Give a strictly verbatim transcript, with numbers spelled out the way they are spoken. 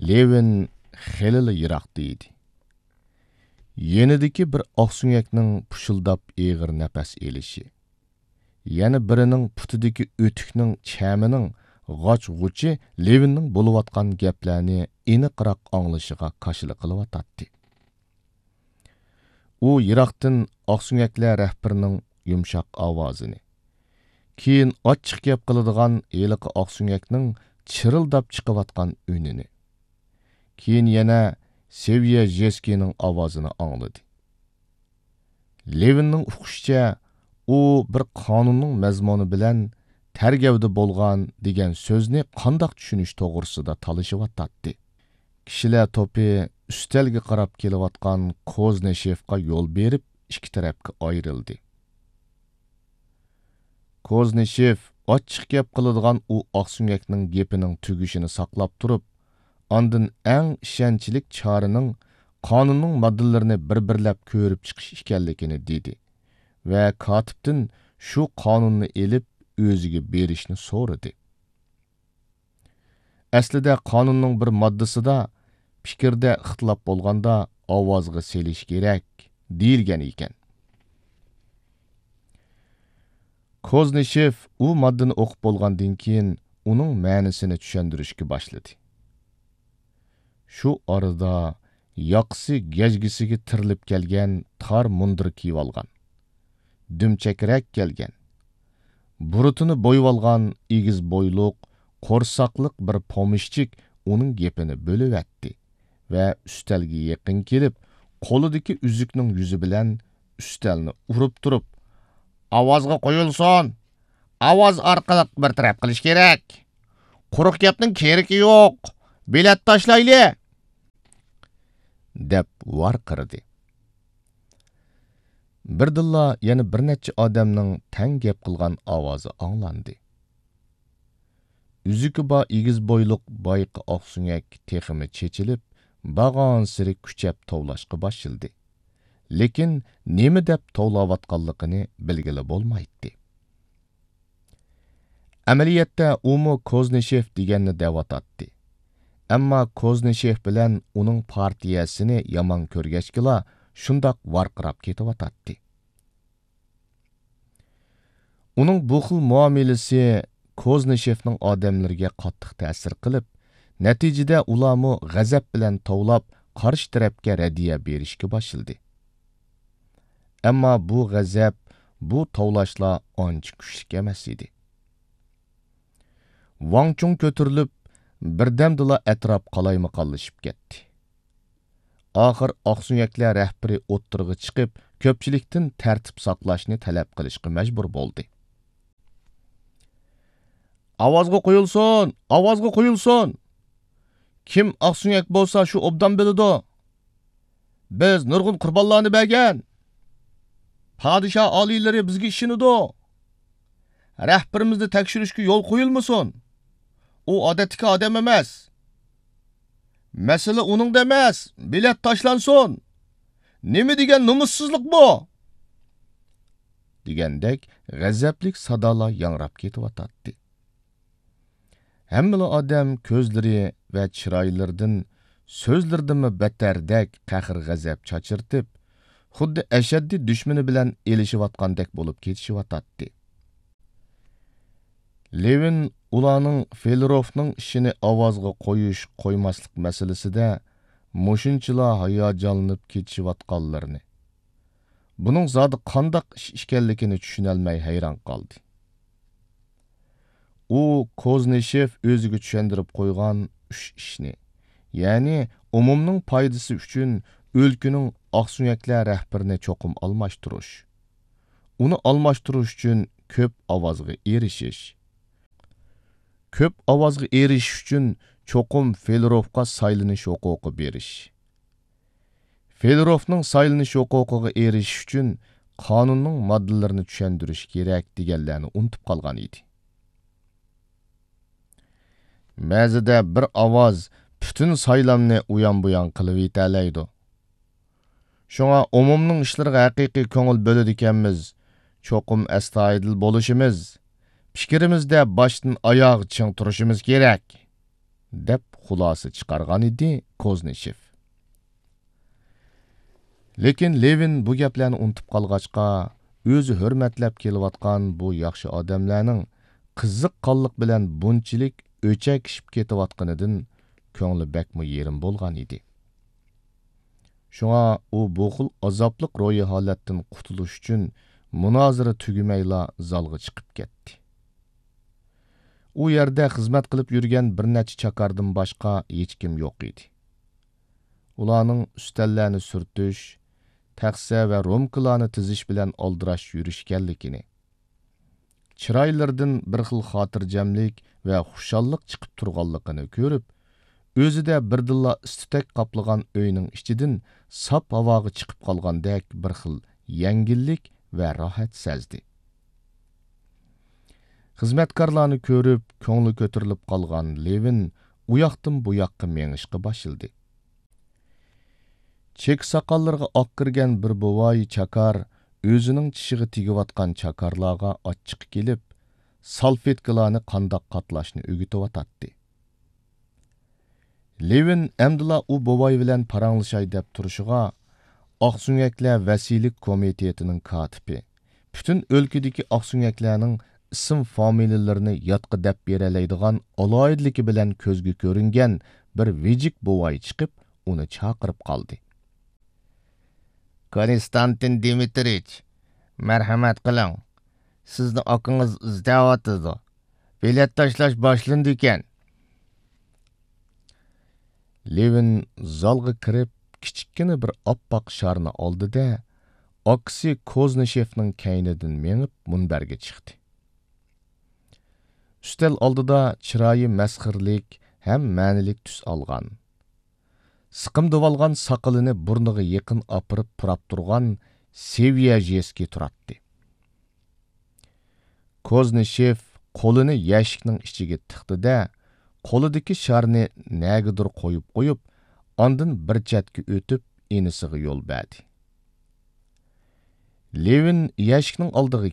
لېۋىن خېلىلا يىراقتا ئىدى. يېنىدىكى بىر ئاقسۆڭەكنىڭ پۇشۇلداپ ئېغىر نەپەس ئېلىشى، يەنە بىرىنىڭ پۇتىدىكى ئۆتۈكنىڭ چەمىنىڭ غاچ-غۇچى لېۋىننىڭ بولۇۋاتقان گەپلەرنى ئېنىقراق ئاڭلىشىغا كاشىلا قىلىۋاتاتتى. ئۇ يىراقتىن ئاقسۆڭەكلەر رەھبىرىنىڭ يۇمشاق ئاۋازىنى، كېيىن ئاچچىق گەپ قىلىدىغان ھېلىقى ئاقسۆڭەكنىڭ چىرىلداپ چىقىۋاتقان ئۈنىنى، كېيىن يەنە سېۋيە ژېسكىنىڭ ئاۋازىنى ئاڭلىدى. لېۋىننىڭ ئۇقۇشىچە، ئۇ بىر قانۇننىڭ مەزمۇنى بىلەن تەرگەۋدە بولغان دېگەن سۆزنى قانداق چۈشىنىش توغرىسىدا تالىشىۋاتاتتى. كىشىلەر توپى ئۈستەلگە قاراپ كېلىۋاتقان كوزنىشېفقا يول بېرىپ، ئىككى تەرەپكە ئايرىلدى. كوزنىشېف ئاچچىق گەپ قىلىدىغان ئۇ ئاقسۆڭەكنىڭ گېپىنىڭ تۈگىشىنى ساقلاپ تۇرۇپ، ئاندىن ئەڭ ئىشەنچلىك چارىنىڭ قانۇننىڭ ماددىلىرىنى بىر-بىرلەپ كۆرۈپ چىقىش ئىكەنلىكىنى دېدى ۋە كاتىپتىن شۇ قانۇننى ئېلىپ، ئۆزىگە بېرىشنى سورىدى. ئەسلىدە قانۇننىڭ بىر ماددىسىدا، پىكىردە ئىختىلاپ بولغاندا ئاۋازغا سېلىش كېرەك، دېيىلگەن ئىكەن. كوزنىشېف ئۇ ماددىنى ئوقۇپ بولغاندىن كېيىن، ئۇنىڭ مەنىسىنى چۈشەندۈرۈشكە باشلىدى. شۇ ئارىدا ياقىسى گەجگىسىگە تىرىلىپ كەلگەن تار مۇندىر كىيىۋالغان، دۈمچەكرەك كەلگەن، بۇرۇتىنى بويىۋالغان ئېگىز بويلۇق، قورساقلىق بىر پومېشچىك ئۇنىڭ گېپىنى بۆلۈۋەتتى ۋە ئۈستەلگە يېقىن كېلىپ، قولىدىكى ئۈزۈكنىڭ يۈزى بىلەن ئۈستەلنى ئۇرۇپ تۇرۇپ، «ئاۋازغا قويۇلسۇن! ئاۋاز ئارقىلىق بىر تەرەپ قىلىش كېرەك! قۇرۇق گەپنىڭ كېرىكى يوق! بېلەت تاشلايلى!» دەپ ۋارقىرىدى. بىردىنلا يەنە بىر نەچچە ئادەمنىڭ تەڭ گەپ قىلغان ئاۋازى ئاڭلاندى. ئۈزۈكى بار ئېگىز بويلۇق بايىقى ئاقسۆڭەك تېخىمۇ چېچىلىپ، بارغانسېرى كۈچەپ توۋلاشقا باشلىدى. لېكىن نېمە دەپ توۋلاۋاتقانلىقىنى بىلگىلى بولمايتتى. ئەمەلىيەتتە ئۇمۇ كوزنىشېف دېگەننى دەۋاتاتتى. ئەمما كوزنىشېف بىلەن ئۇنىڭ پارتىيەسىنى يامان كۆرگەچكىلا شۇنداق ۋارقىراپ كېتىۋاتاتتى. ئۇنىڭ بۇ خىل مۇئامىلىسى كوزنىشېفنىڭ ئادەملىرىگە قاتتىق تەسىر قىلىپ، نەتىجىدە ئۇلارمۇ غەزەپ بىلەن توۋلاپ، قارشى تەرەپكە رەددىيە بېرىشكە باشلىدى. ئەمما بۇ غەزەپ، بۇ توۋلاشلار ئانچە كۈچلۈك ئەمەس ئىدى. ۋاڭ چۇڭ كۆتۈرۈلۈپ، بىردەمدىلا ئەتراپ قالايمىقانلىشىپ كەتتى. ئاخىر ئاقسۆڭەكلەر رەھبىرى ئوتتۇرىغا چىقىپ، كۆپچىلىكتىن تەرتىپ ساقلاشنى تەلەپ قىلىشقا مەجبۇر بولدى. «ئاۋازغا قويۇلسۇن! ئاۋازغا قويۇلسۇن! كىم ئاقسۆڭەك بولسا، شۇ ئوبدان بىلىدۇ. بىز نۇرغۇن قۇربانلارنى بەرگەن. پادىشاھ ئالىيلىرى بىزگە ئىشىنىدۇ. رەھبىرىمىزنى تەكشۈرۈشكە يول قويۇلمىسۇن. ئۇ ئادەتتىكى ئادەم ئەمەس. مەسىلە ئۇنىڭدا ئەمەس، بېلەت تاشلانسۇن. نېمە دېگەن نومۇسسىزلىق بۇ!» دېگەندەك غەزەپلىك سادالار ياڭراپ كېتىۋاتاتتى. ھەممىلا ئادەم كۆزلىرى ۋە چىرايلىرىدىن سۆزلىرىدىنمۇ بەتتەردەك قەھرى غەزەپ چاچرىتىپ، خۇددى ئەشەددىي دۈشمىنى بىلەن ئېلىشىۋاتقاندەك بولۇپ كېتىشىۋاتاتتى. لېۋىن ئۇلارنىڭ فېلېروفنىڭ ئىشىنى ئاۋازغا قويۇش، قويماسلىق مەسىلىسىدە مۇشۇنچىلا ھاياجانلىنىپ كېتىشىۋاتقانلىرىنى، بۇنىڭ زادى قانداق ئىش ئىكەنلىكىنى چۈشىنەلمەي ھەيران قالدى. ئۇ كوزنىشېف ئۆزىگە چۈشەندۈرۈپ قويغان ئۈچ ئىشنى، يەنى ئومۇمنىڭ پايدىسى ئۈچۈن ئۆلكىنىڭ ئاقسۆڭەكلەر رەھبىرىنى چوقۇم ئالماشتۇرۇش، ئۇنى ئالماشتۇرۇش ئۈچۈن كۆپ ئاۋازغا ئېرىشىش، كۆپ ئاۋازغا ئېرىشىش ئۈچۈن چوقۇم فېلېروفقا سايلىنىش ھوقۇقى بېرىش، فېلېروفنىڭ سايلىنىش ھوقۇقىغا ئېرىشىش ئۈچۈن قانۇننىڭ ماددىلىرىنى چۈشەندۈرۈش كېرەك دېگەنلەرنى ئۇنتۇپ قالغان ئىدى. بەزىدە بىر ئاۋاز پۈتۈن سايلامنى ئۇيان-بۇيان قىلىۋېتەلەيدۇ. شۇڭا ئومۇمنىڭ ئىشلىرىغا ھەقىقىي كۆڭۈل بۆلىدىكەنمىز، چوقۇم ئەستايىدىل بولۇشىمىز، پىكرىمىزدە باشتىن ئاياغ چىڭ تۇرۇشىمىز كېرەك. دەپ خۇلاسە چىقارغان ئىدى كوزنىشېف. لېكىن لېۋىن بۇ گەپلەرنى ئۇنتۇپ قالغاچقا، ئۆزى ھۆرمەتلەپ كېلىۋاتقان بۇ ياخشى ئادەملەرنىڭ قىزىق قانلىق بىلەن بۇنچىلىك ئۆچەكىشىپ كېتىۋاتقىنىدىن كۆڭلى بەكمۇ يېرىم بولغان ئىدى. شۇڭا ئۇ بۇ خىل ئازابلىق روھىي ھالەتتىن قۇتۇلۇش ئۈچۈن مۇنازىرە تۈگىمەيلا زالغا چىقىپ كەتتى. ئۇ يەردە خىزمەت قىلىپ يۈرگەن بىر نەچچە چاكاردىن باشقا ھېچكىم يوق ئىدى. ئۇلارنىڭ ئۈستەللەرنى سۈرتۈش، تەخسە ۋە رومكىلارنى تىزىش بىلەن ئالدىراش يۈرۈشكەنلىكىنى، چىرايلىرىدىن بىر خىل خاتىرجەملىك ۋە خۇشاللىق چىقىپ تۇرغانلىقىنى كۆرۈپ، ئۆزىدە بىردىنلا ئىس-تۈتەك قاپلىغان ئۆينىڭ ئىچىدىن ساپ ھاۋاغا چىقىپ قالغاندەك بىر خىل يەڭگىللىك ۋە راھەت سەزدى. خىزمەتكارلارنى كۆرۈپ، كۆڭلى كۆتۈرۈلۈپ قالغان لېۋىن ئۇياقتىن بۇياققا مېڭىشقا باشلىدى. چېكە ساقاللىرىغا ئاق كىرگەن بىر بوۋاي چاكار ئۆزىنىڭ چىشىغا تېگىۋاتقان چاكارلارغا ئاچچىقى كېلىپ، سالفېتكىلارنى قانداق قاتلاشنى ئۆگىتىۋاتاتتى. لېۋىن ئەمدىلا ئۇ بوۋاي بىلەن پاراڭلىشاي دەپ تۇرۇشىغا، ئاقسۆڭەكلەر ۋەسىيلىك كومىتېتىنىڭ كاتىپى، پۈتۈن ئۆلكىدىكى ئاقسۆڭەكلەرنىڭ ئىسىم-فامىلىلىرىنى يادقا دەپ بېرەلەيدىغان ئالاھىدىلىكى بىلەن كۆزگە كۆرۈنگەن بىر ۋىجىك بوۋاي چىقىپ، ئۇنى چاقىرىپ قالدى. كونستانتىن دىمىترىچ، مەرھەمەت قىلىڭ، سىزنى ئاكىڭىز ئىزدەۋاتىدۇ. بېلەت تاشلاش باشلىنىدىكەن. لېۋىن زالغا كىرىپ، كىچىككىنە بىر ئاپئاق شارنى ئالدى-دە، ئاكىسى كوزنىشېفنىڭ كەينىدىن مېڭىپ مۇنبەرگە چىقتى. ئۈستەل ئالدىدا چىرايى مەسخىرىلىك ھەم مەنىلىك تۈس ئالغان، سىقىمدىۋالغان ساقىلىنى بۇرنىغا يېقىن ئاپىرىپ پۇراپ تۇرغان سېۋيەژېسكىي تۇراتتى. كوزنىشېف قولىنى يەشىكنىڭ ئىچىگە تىقتى-دە، قولىدىكى شارنى نەگىدۇر قويۇپ قويۇپ، ئاندىن بىر چەتكە ئۆتۈپ، ئىنىسىغا يول بەردى. لېۋىن يەشىكنىڭ ئالدىغا